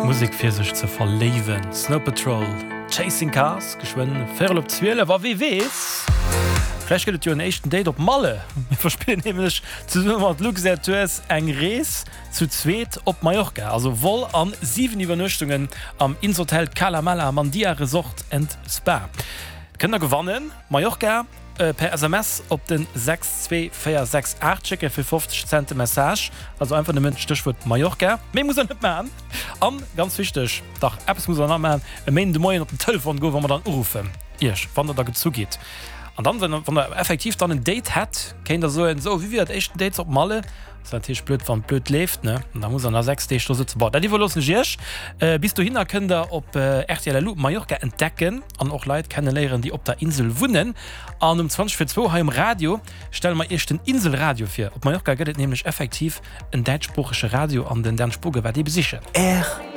Musek fir sech ze verléiwen, Snow Patrol, Chasing Cars, geschwënn véierel op 12 a wee weess, vläicht gëtt et jo en éischten Date op Malle. Mir verspillen nämlech zesumme mat Luxair Tours eng Rees zu zweet op Mallorca, also Vol an 7 Iwwernuechtungen am Insotel Cala Mala Mandia Resort and Spa. Kënnt der gewannen, Mallorca! Per SMS op den 62468 schécke fir 50 Cent de Message. Also einfach nëmmen d'Stéchwuert Mallorca. Méi musst der net maachen. An, ganz wichteg, dach eppes musst der nach maachen, e Méinden de Moien op den Telefon goen, wa mer dann uruffen, Iech, wann der da gezu gitt. An dann, wann der effektiv dann en Date hätt, kéint der soen, Sou, wéi wier dat éischten Date op Malle? Ass natierlech blöd, wann et blöd leeft, ne? An da musst der nach 6 Deeg do sëtzen. Bon, dat iwwerloossen ech Iech. Bis dohinner kënnt der op rtl LU Mallorca entdecken an och Leit kenneléieren, déi op der Insel wunnen. An um 20 vir zwou hei um Radio stelle mer Iech den Inselradio vir. Op Mallorca gëtt et nämlech effektiv en däitschsproochege Radio an den Dan Spogen war dee besichen. Rtl.